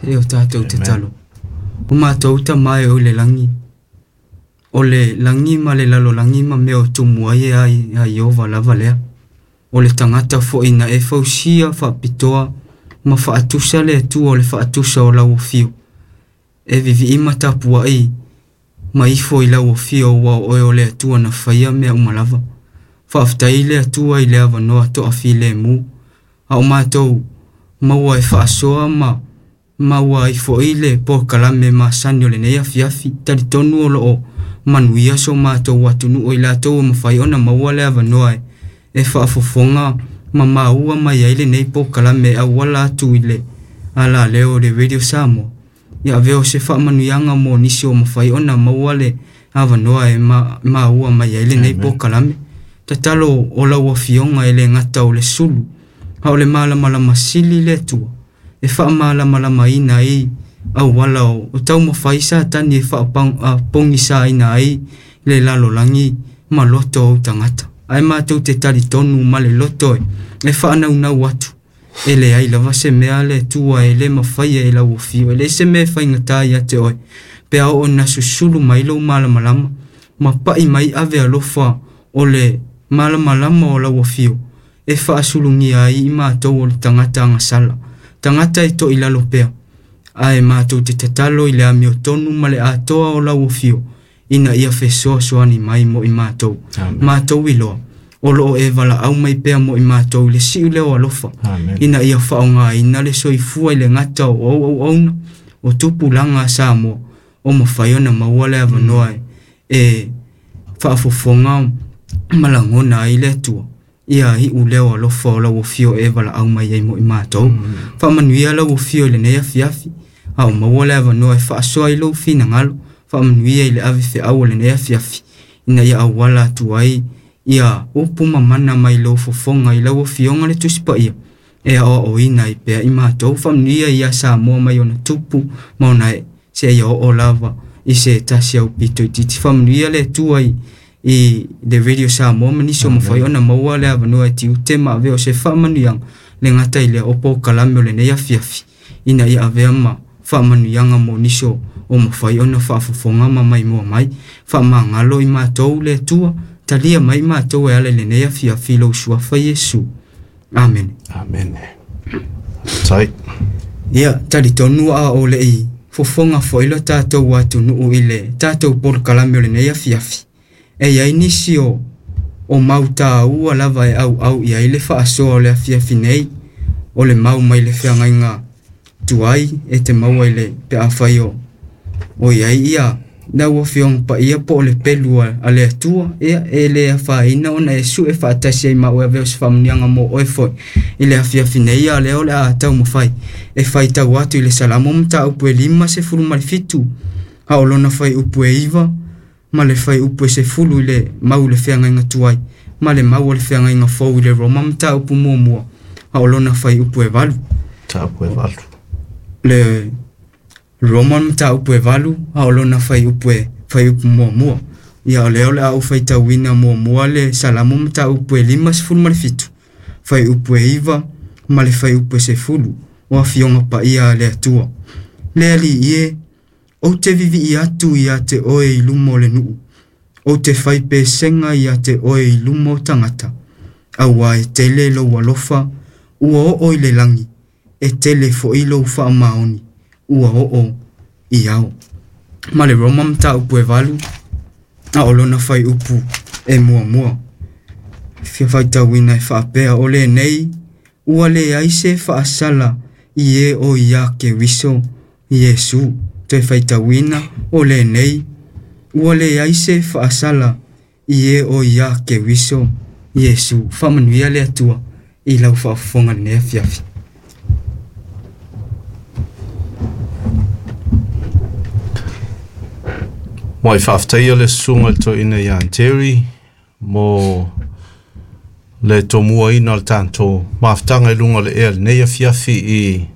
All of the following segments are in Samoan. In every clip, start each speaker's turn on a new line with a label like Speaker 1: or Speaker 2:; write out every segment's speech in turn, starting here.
Speaker 1: E o tātou tatalo. O mātou Tama e o i le lagi, o le lagi ma le lalolagi ma mea o tumu ai e ai a Ieova lava lea. O le tagata foi na e fausia faapitoa ma faatusa le Atua o le faatusa o lau afio. E vivii ma tapuai ma ifo i lau afio ua o oe o le Atua na faia mea uma lava. Faafetai le Atua i le avanoa toafilemu, a o matou maua e faasoa ma maua ai foi le polokalame masani o lenei afiafi. Talitonu o loo manuia so matou atunuu i latou ua mafai ona maua le avanoa e faafofoga ma maua mai ai lenei polokalame e auala atu i le alaleo o le Radio Samoa. Ia avea o se faamanuiaga mo nisi o mafai ona maua le avanoa e maua mai ai lenei polokalame. Tatalo o lau afioga e le gata o le sulu, a o le malamalama sili le Atua e faamalamalamaina ai auala o taumafai Satani e faapogisaina ai le lalolagi ma loto o tagata. Ae matou te talitonu ma le loto e faanaunau atu, e leai lava se mea le Atua e le mafaia e lau afio, e leai se mea e faigata ia te oe, pe a oo ina susulu mai lou malamalama ma pai mai ave alofa o le malamalama o lau afio e faasulugia ai i matou o le tagata agasala, tagata e toilalo pea. Ae matou te tatalo i le amiotonu ma le atoa o lau afio ina ia fesoasoani mai mo i matou. Matou iloa o loo e valaau mai pea mo i matou i le siu leo alofa.
Speaker 2: Amen.
Speaker 1: Ina ia faaaogaina le soifua i le gata o auauauna o tupulaga a Samoa o mafai ona maua le avanoa e faafofoga ma lagona ai le Atua. Ia iu leo alofa o lau afio e valaau mai ai mo i matou. Faamanuia lau afio i lenei afiafi, a o maua le avanoa e faasoa i lou finagalo. Faamanuia i le ave feau o lenei afiafi, ina ia auala atu ai ia upu mamana mai lou fofoga i lau afioga le Tusi Paia e aoaoina ai pea i matou. Faamanuia ia Samoa mai ona tupu ma ona ee, seia oo lava i se tasi aupito itiiti. Faamanuia le Atua i le Radio Samoa ma nisi o mafai ona maua le avanoa e tiute ma avea o se faamanuiaga le gata i lea o polokalame o lenei afiafi, ina ia avea ma faamanuiaga mo nisi o mafai ona faafofoga ma maimoa mai. Faamagalo i matou le Atua, talia mai matou e ala i lenei afiafi i lou suafa Iesu. Amene.
Speaker 2: Amene. Tai.
Speaker 1: Ia, talitonu a o lei fofoga foi lo tatou atunuu i le tatou polokalame o lenei afiafi. E iai nisi o mau tāua lava e auau i ai le faasoa o le afiafi nei, o le mau mai le feagaiga tuai e te maua i le pe afai o iai ia lau afioga paia po o le pelu a le Atua. Ia, e le afaina ona e sue faatasi ai ma oe avea o se faamanuiaga mo oe foi i le afiafi nei. A lea o le a taumafai e faitau atu i le Salamo mataupu e 57, a o lona fuaiupu e 9 ma le fuaiupu e 10 i le mau i le feagaiga tuai ma le mau o le feagaiga fou i le Roma mataupu muamua, a o lona fuaiupu e 8.
Speaker 2: Mataupu e 8.
Speaker 1: Le Roma mataupu e 8, a o lona fuaiupu e fuaiupu muamua. Ia, o lea o le a ou faitauina muamua le Salamo mataupu e 57, fuaiupu e 9 ma le fuaiupu e 10 o afioga paia a le Atua. Le Alii e, ou te vivii atu ia te oe i luma o le nuu, ou te fai pesega ia te oe i luma o tagata. Aua e tele lou alofa, ua oo i le lagi, e tele foi lou faamaoni, ua oo i ao. Ma le Roma mataupu e 8, a o lona fuaiupu e muamua. Fia faitauina e faapea, o lenei ua leai se faasala i e o ia Keriso Iesu. Toe faitauina, o lenei ua leai se faasala i e o ia Keriso Iesu. Faamanuia le Atua i lau faafofoga lenei afiafi.
Speaker 2: Mo i faafetaia le susuga i le toeaina ia Terry mo le tomuaina o le tatou mafutaga i luga o le ea lenei afiafi i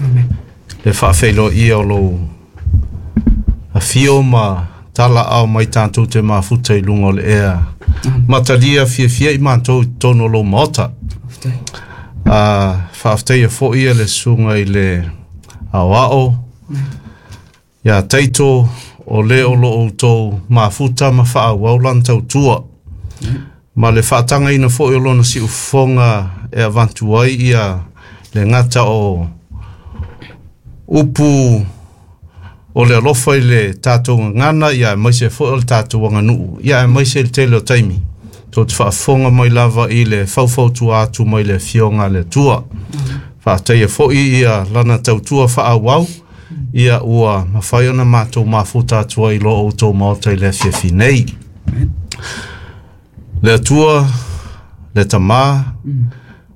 Speaker 1: Amen.
Speaker 2: le faafeiloaia o lou afio ma tala ao mai tatou te mafuta i luga o le ea. Matalia fiafia i matou i totonu o lou maota.
Speaker 1: Faafetai.
Speaker 2: Faafetaia foi le susuga i le Aoao, ia Taito, o le o lo outou mafuta ma faaauau lana tautua. Ma le faatagaina foi o lona siufofoga e avatu ai ia le gata o upu o le alofa i le tatou gagana, ia aemaise foi o le tatou aganuu, ia aemaise le tele o taimi. Tou te faafofoga mai lava i le faufautua atu mai le Afioga a le Atua. Faafetaia foi ia lana tautua faaauau, ia ua mafai ona matou mafuta atu ai i lo outou maota i le afiafi nei. Le Atua, le Tamā,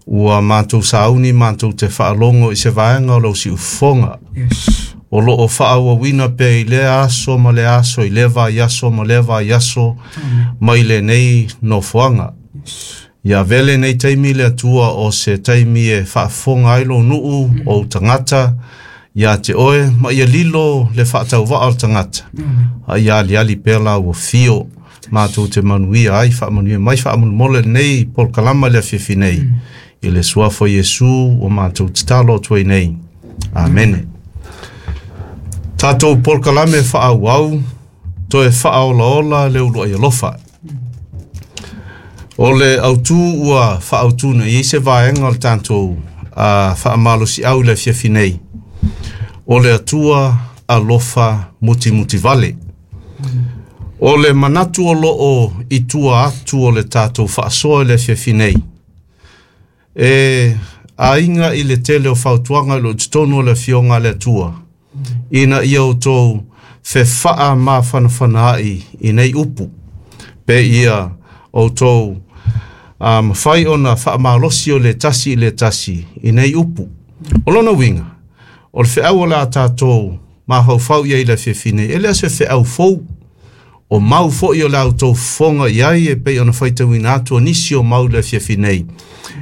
Speaker 2: ua matou sauni matou te faalogo i se vaega o lau siufofoga.
Speaker 1: Yes.
Speaker 2: O lo o faaauauina pea i lea aso ma lea aso, i lea vaiaso ma lea vaiaso, mai lenei nofoaga. Ia avea lenei taimi le Atua o se taimi e faafofoga ai lou nuu, ou tagata, ia te oe, ma ia lilo le faatauvaa o le tagata. A ia aliali pea la ua fio, matou te manuia ai, faamanuia mai, faamolemole lenei polokalama i le afiafi nei. I le suafa o Iesu ua matou tatalo atu ai nei. Amene. Tatou polokalame faaauau, toe faaolaola le uluai alofa. O le autu ua faaautu nei i se vaega o le tatou faamalosiau i le afiafi nei, o le Atua alofa mutimutivale. O le manatu o lo o i tua atu o le tatou faasoa i le afiafi nei, e aiga i le tele o fautuaga i lo totonu o le Afioga a le Atua, ina ia outou fefaamafanafanaai i nei upu, pe ia outou mafai ona faamalosi o le tasi i le tasi i nei upu. O lona uiga, o le feau o le a tatou mafaufau i ai i le afiafi nei, e le o se feau fou, o mau foi o le a outou fofoga i ai e pei ona faitauina atu o nisi o mau i le afiafi nei.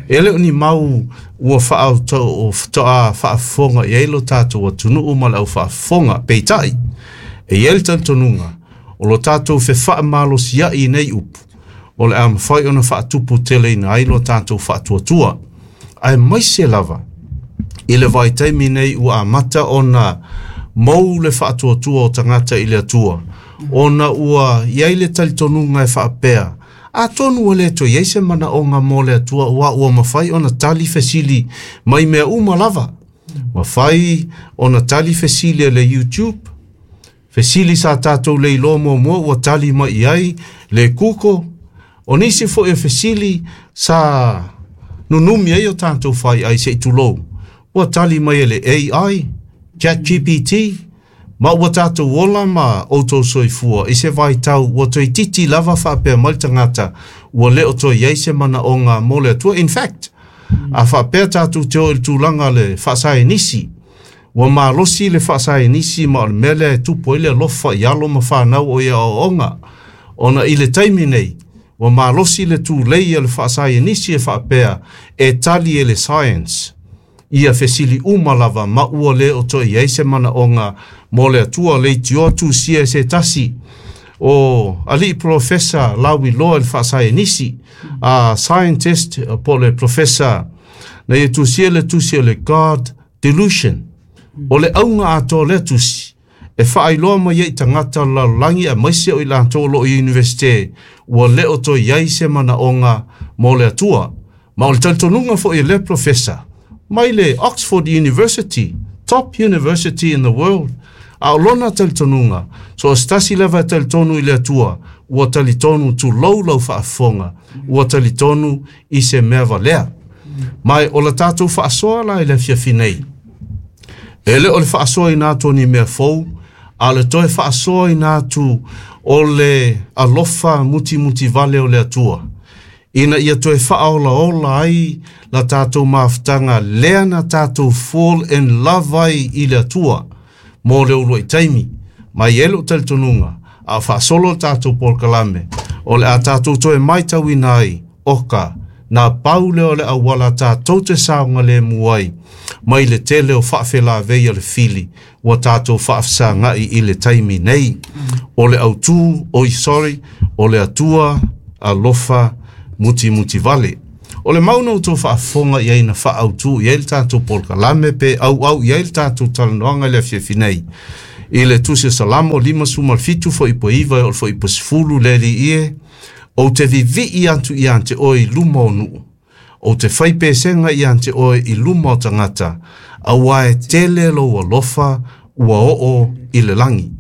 Speaker 2: E le o ni mau ua faatoa faafofoga i ai lo tatou atunuu ma le au faafofoga, peitai, e i ai le talitonuga o lo tatou fefaamalosi i nei upu, o le a mafai ona faatupu teleina ai lo tatou faatuatua. Aemaise lava i le vaitaimi nei ua amata ona mou le faatuatua o tagata i le Atua, ona ua i ai le talitonuga e faapea, atonu ua le toe i ai se manaoga mo le Atua, ua mafai ona tali fesili mai mea uma lava. Mafai ona tali fesili e le YouTube, fesili sa tatou le iloa muamua ua tali mai i ai le Google, o nisi foi o fesili sa nunumi ai o tatou fai ai se i tulou, ua tali mai e le AI, ChatGPT, ma ua tatou ola ma outou soifua i se vaitau ua toeitiiti lava faapea mai le tagata ua le o toe i ai se manaoga mo le Atua. In fact, a faapea tatou te o i le tulaga le faasaenisi, ua malosi le faasaenisi ma o le mea lea e tupu ai le alofa i alo ma fanau o ia aoaoga. Ona i le taimi nei, ua malosi le tulei a le faasaenisi e faapea e tali e le science. Ia fesili uma lava ma ua le o toe i ai se manaoga mo le Atua. Le itioa tusia e se tasi o alii profesa lauiloa i le faasaenisi, a scientist po le profesa, na ia tusia le tusi o le God Delusion. O le auga atoa lea tusi, e faailoa mai ai i tagata lalolagi aemaise o i latou o lo o i universite, ua le o toe i ai se manaoga mo le Atua. Ma o le talitonuga foi e lea profesa, mai le Oxford University, top university in the world, a o lona talitonuga, so o se tasi lava e talitonu i le Atua, ua talitonu tulou lau faafofoga, ua talitonu i se mea valea. Mai o la tatou faasoa la i le afiafi nei, e le o le faasoaina atu o ni mea fou, a o le toe faasoaina atu o le alofa mutimutivale o le Atua, ina ia toe faaolaola ai la tatou mafutaga lea na tatou fall in love ai i le Atua mo le uluai taimi. Mai e lou talitonuga, a o faasolo le tatou polokalame, o le a tatou toe maitauina ai, oka, na pau lea o le auala tatou te saogalemu ai, mai le tele o faafelavei a le fili, ua tatou faafesagai i le taimi nei. O le autu, oi sorry, o le Atua alofa mutimutivale. O le mau na outou faafofoga i ai na faaautu i ai le tatou polokalame pe auau i ai le tatou talanoaga i le afiafi nei. I le Tusi o Salamo 57 fuaiupu 9 e oo i le fuaiupu 10 le Alii e, ou te vivii atu ia te oe i luma o nuu, ou te fai pesega ia te oe i luma o tagata, auā e tele lou alofa ua oo i le lagi,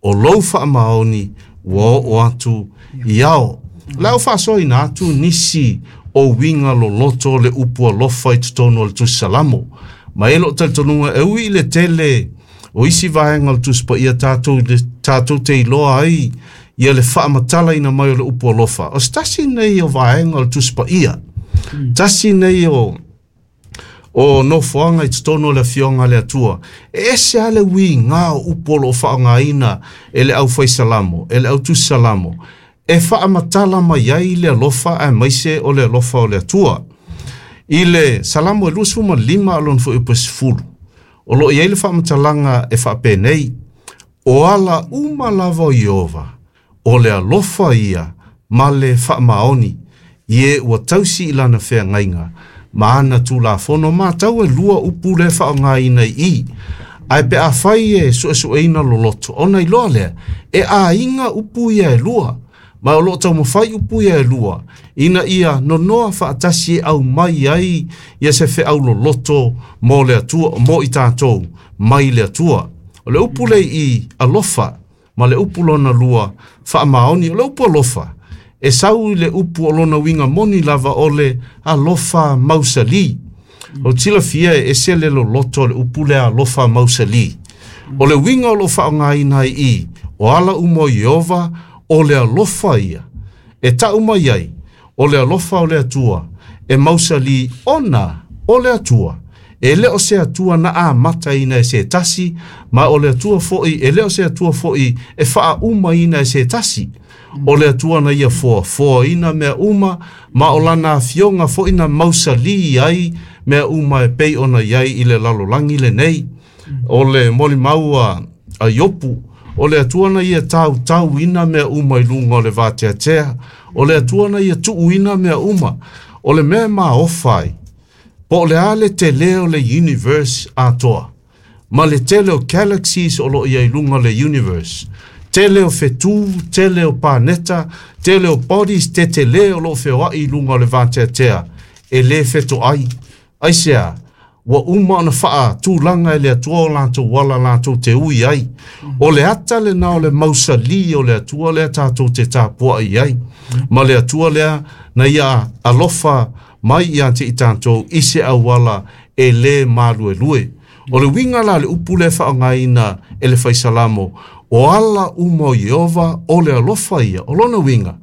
Speaker 2: o lou faamaoni ua oo atu i ao. O le a ou faasoaina atu nisi o uiga loloto o le upu alofa i totonu o le Tusi Salamo. Ma e i ai lou talitonuga e ui i le tele o isi vaega o le Tusi Paia tatou, tatou te iloa ai ia le faamatalaina mai o le upu alofa. O se tasi nei o vaega o le Tusi Paia, tasi nei o o nofoaga i totonu o le Afioga a le Atua. E ese lava le uiga o upu o lo o faaaogaina e le aufai salamo, e le autusi salamo, e faamatala mai ai le alofa aemaise o le alofa o le Atua. I le Salamo e 25 a lona fuaiupu e 10, o lo o i ai le faamatalaga e faapenei, O ala uma lava o Ieova, o le alofa ia ma le faamaoni, i e ua tausi i lana feagaiga ma ana tulafono. Matau e lua upu lea e faaaogaina i i. Ae pe afai e suesueina loloto, ona iloa lea, e aiga upu ia e lua, ma o lo o taumafai upu ia e lua, ina ia nonoa faatasi e aumai ai ia se feau loloto mo le Atua, mo i tatou mai le Atua. O le upu lea i alofa, ma le upu lona lua, faamaoni. O le upu alofa, e sau i le upu o lona uiga moni lava o le alofa mausali. O le silafia e ese le loloto o le upu lea alofa mausali. O le uiga o lo o faaaogaina ai i, o ala uma o Ieova, o le alofa ia. E tau mai ai, o le alofa o le Atua, e mausali ona o le Atua. E le o se Atua na amataina e se tasi, ma o le Atua foi, e le o se Atua foi e faaumaina e se tasi. O le Atua na ia foafoaina mea uma, ma o lana afioga foi na mausali ai mea uma e pei ona i ai i le lalolagi lenei. O le molimau a Iopu, o le Atua na ia tautauina mea uma i luga o le vateatea, o le Atua na ia tuuina mea uma. O le mea e maofa ai, po o le a le tele o le universe atoa, ma le tele o galaxies o lo o i ai i luga o le universe, tele o fetū, tele o paneta, tele o bodies tetele o lo o feoai i luga o le vateatea, e le fetoai. Aisea? Ua uma ona faatulaga e le Atua o latou ala latou te ui ai. O le ata lena o le mausalī o le Atua lea tatou te tapuai ai, ma le Atua lea na ia alofa mai ia te i tatou i se auala e lē maluelue. O le uiga la o le upu lea e faaaogaina e le Fai Salamo, o ala uma o Ieova o le alofa ia. O lona uiga,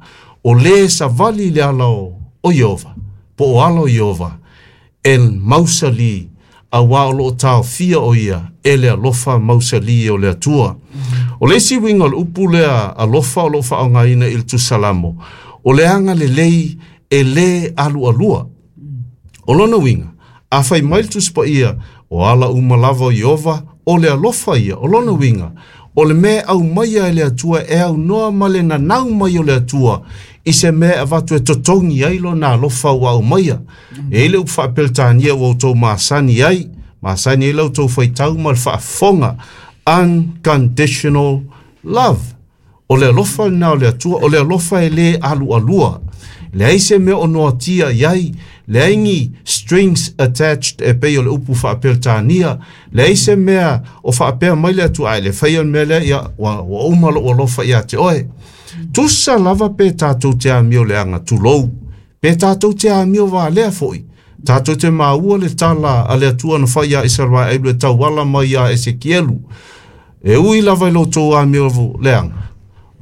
Speaker 2: o lē savali i le ala o Ieova, po o ala o Ieova, e mausali, auā o lo o taofia o ia e le alofa mausali o le Atua. O le isi uiga o le upu lea alofa o lo o faaaogaina i le Tusi Salamo, o le agalelei e lē alualua. O lona uiga, a fai mai le Tusi Paia, o ala uma lava o Ieova, o le alofa ia, o lona uiga, o le mea e aumaia e le Atua e aunoa ma le nanau mai o le Atua i se mea e avatu e totogi ai lona alofa ua aumaia. E i ai le upu faa-Peretania ua outou masani ai, masani ai la outou faitau ma le faafofoga, unconditional love. O le alofa lena o le Atua, o le alofa e lē alualua. Leai se mea o noatia i ai, leai ni strings attached e pei o le upu faa-Peretania, leai se mea o faapea mai le Atua, a e le faia le mea lea, ia, ua, ua uma lou alofa ia te oe. Tusa lava pe tatou te amio leaga, tulou, pe tatou te amio valea foi, tatou te maua le tala a le Atua na fai ia Isaraelu e tauala mai iā Esekielu, E ui lava i lo outou amio leaga,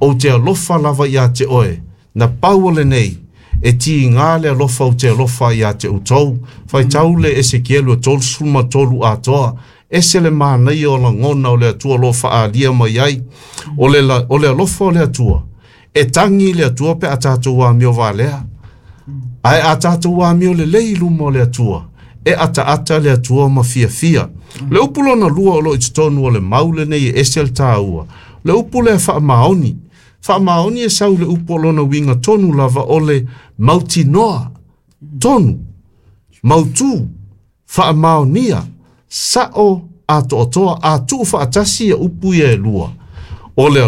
Speaker 2: ou te alofa lava ia te oe, na pau o lenei, e tiga le alofa ou te alofa ia te outou. Faitau le Esekielu e 33 atoa, ese le manaia o lagona o le Atua o lo o faaalia mai ai. O le, o le alofa o le Atua, e tagi le Atua pe a tatou amio valea. Ae a tatou amio lelei i luma o le Atua, e ataata le Atua ma fiafia. Le upu lona lua o lo o i totonu o le mau lenei e ese le taua, le upu lea faamaoni. Faamaoni e sau i le upu o lona uiga tonu lava o le mautinoa. Tonu, mautū, faamaonia, sa'o atoatoa a tuufaatasi ia upu ia e lua, o le